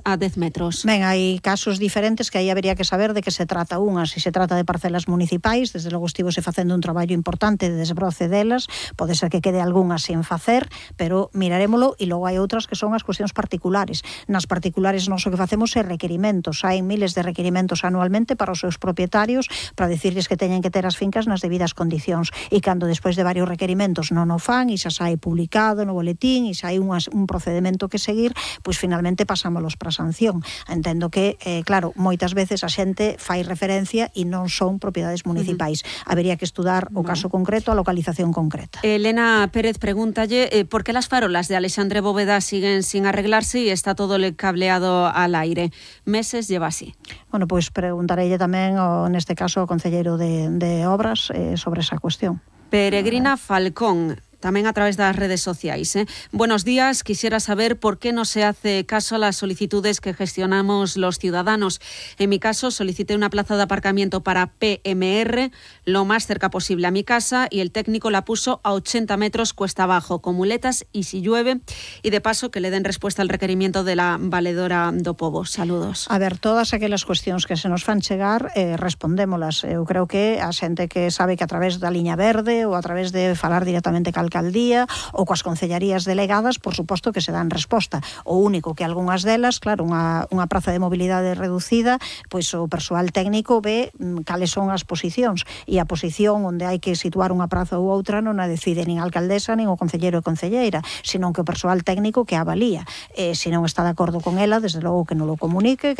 a 10 metros. Ben, hai casos diferentes que aí habería que saber de que se trata unhas. Se trata de parcelas municipais, desde logo estivose facendo un traballo importante de desbroce delas, pode ser que quede algunhas sin facer, pero mirarémolo, e logo hai outras que son as cuestións particulares. Nas particulares nós o que facemos é requerimentos. Hai miles de requerimentos anualmente para os seus propietarios para decirles que teñen que ter as fincas nas debidas condicións, e cando despois de varios requerimentos non o fan e xa sai publicado no boletín e xa hai un procedimento que seguir, pois finalmente pasámolos para sanción. Entendo que, claro, moitas veces a xente fai referencia e non son propiedades municipais. Habería que estudar o caso concreto, a localización concreta. Elena Pérez pregúntalle por que las farolas de Alexandre Bóveda siguen sin arreglarse e está todo el cableado al aire. Meses lleva así. Bueno, pois preguntareille tamén, neste caso, ao concelleiro de Obras sobre esa cuestión. Peregrina Falcón, también a través de las redes sociales. Buenos días, quisiera saber por qué no se hace caso a las solicitudes que gestionamos los ciudadanos. En mi caso, solicité una plaza de aparcamiento para PMR lo más cerca posible a mi casa y el técnico la puso a 80 metros cuesta abajo, con muletas y si llueve, y de paso que le den respuesta al requerimiento de la valedora do Pobo. Saludos. A ver, todas aquelas cuestións que se nos fan chegar, respondémolas. Eu creo que a xente que sabe que a través da liña verde ou a través de falar directamente cal alcaldía ou coas concellarías delegadas, por suposto que se dan resposta. O único que algunhas delas, claro, unha praza de mobilidade reducida, pois o persoal técnico ve cales son as posicións, e a posición onde hai que situar unha praza ou outra non a decide nin a alcaldesa nin o concelleiro e concelleira, senón que o persoal técnico que avalía. Se non está de acordo con ela, desde logo que non lo comunique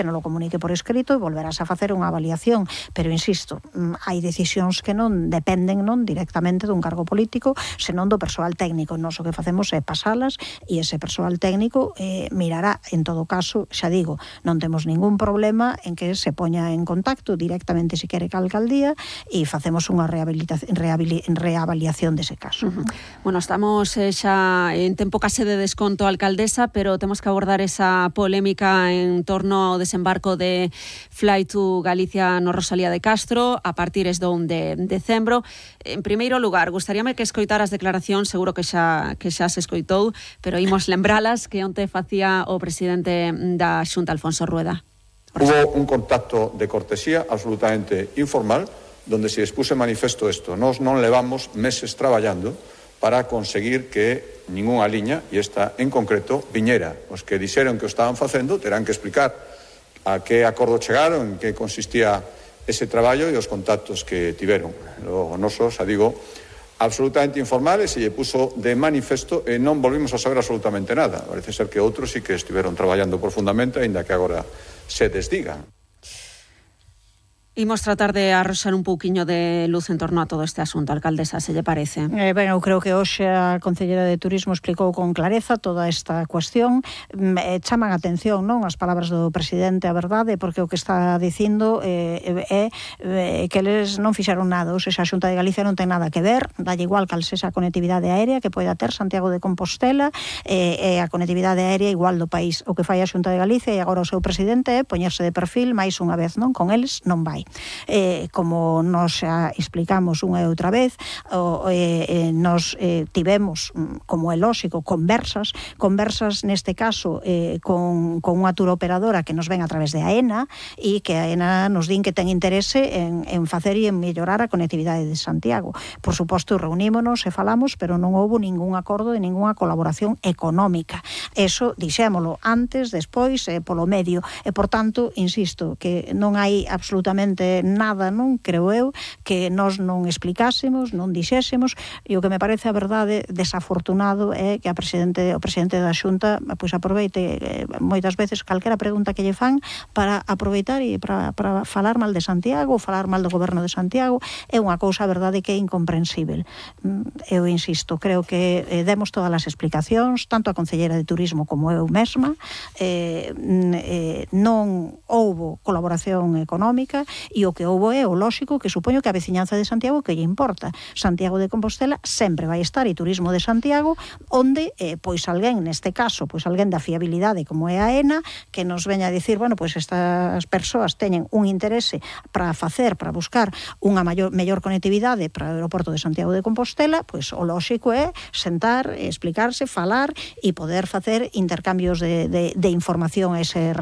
por escrito, e volverás a facer unha avaliación. Pero insisto, hai decisións que non dependen directamente dun cargo político, senón do persoal técnico. Nós o que facemos é pasalas e ese persoal técnico mirará. En todo caso, xa digo, non temos ningún problema en que se poña en contacto directamente se quere ca alcaldía e facemos unha reavaliación dese caso. Bueno, estamos xa en tempo case de desconto, alcaldesa, pero temos que abordar esa polémica en torno ao desembarco de Fly to Galicia no Rosalía de Castro a partires do 1 de decembro. En primeiro lugar, gustaríame que escoitaras declaracións, seguro que xa se escoitou, pero imos lembralas que onte facía o presidente da Xunta, Alfonso Rueda. Hubo un contacto de cortesía absolutamente informal, donde se expuse manifesto isto. Nós non levamos meses traballando para conseguir que ningunha liña, e esta en concreto, viñera. Os que dixeron que o estaban facendo terán que explicar a que acordo chegaron, en que consistía ese traballo e os contactos que tiveron. O noso, xa digo, absolutamente informales, e lle puso de manifesto e non volvimos a saber absolutamente nada. Parece ser que outros sí que estiveron traballando profundamente, aínda que agora se desdigan. Imos tratar de arroxar un pouquiño de luz en torno a todo este asunto, alcaldesa, se lle parece? Ben, eu creo que hoxe a concelleira de Turismo explicou con clareza toda esta cuestión. Chaman a atención, non, as palabras do presidente, a verdade, porque o que está dicindo é que eles non fixeron nada. Ou seja, a Xunta de Galicia non ten nada que ver, dalle igual cal sexa a conectividade aérea que poida ter Santiago de Compostela, e a conectividade aérea igual do país. O que fai a Xunta de Galicia e agora o seu presidente é poñerse de perfil máis unha vez, non? Con eles non vai. Como nos xa explicamos unha e outra vez, nos tivemos, como é lóxico, conversas neste caso con unha turoperadora que nos ven a través de AENA, e que AENA nos din que ten interese en facer e en mellorar a conectividade de Santiago. Por suposto, reunímonos e falamos, pero non houbo ningún acordo de ninguna colaboración económica. Eso dixémolo antes, despois, polo medio, e por tanto, insisto, que non hai absolutamente nada, non creo eu, que nós non explicásemos, non dixésemos, e o que me parece a verdade desafortunado é que o presidente da Xunta pois aproveite moitas veces calquera pregunta que lle fan para aproveitar e para falar mal de Santiago, ou falar mal do goberno de Santiago. É unha cousa, a verdade, que é incomprensível. Eu insisto, creo que demos todas as explicacións, tanto a concelleira de Turismo como eu mesma, non houbo colaboración económica, e o que houbo é o lóxico, que supoño que a veciñanza de Santiago que lle importa. Santiago de Compostela sempre vai estar, e Turismo de Santiago, onde pois alguén, neste caso, pois alguén da fiabilidade como é a AENA, que nos veña a dicir, bueno, pois estas persoas teñen un interese para buscar unha mellor conectividade para o aeroporto de Santiago de Compostela, pois o lóxico é sentar, explicarse, falar e poder facer intercambios de información a ese respecto.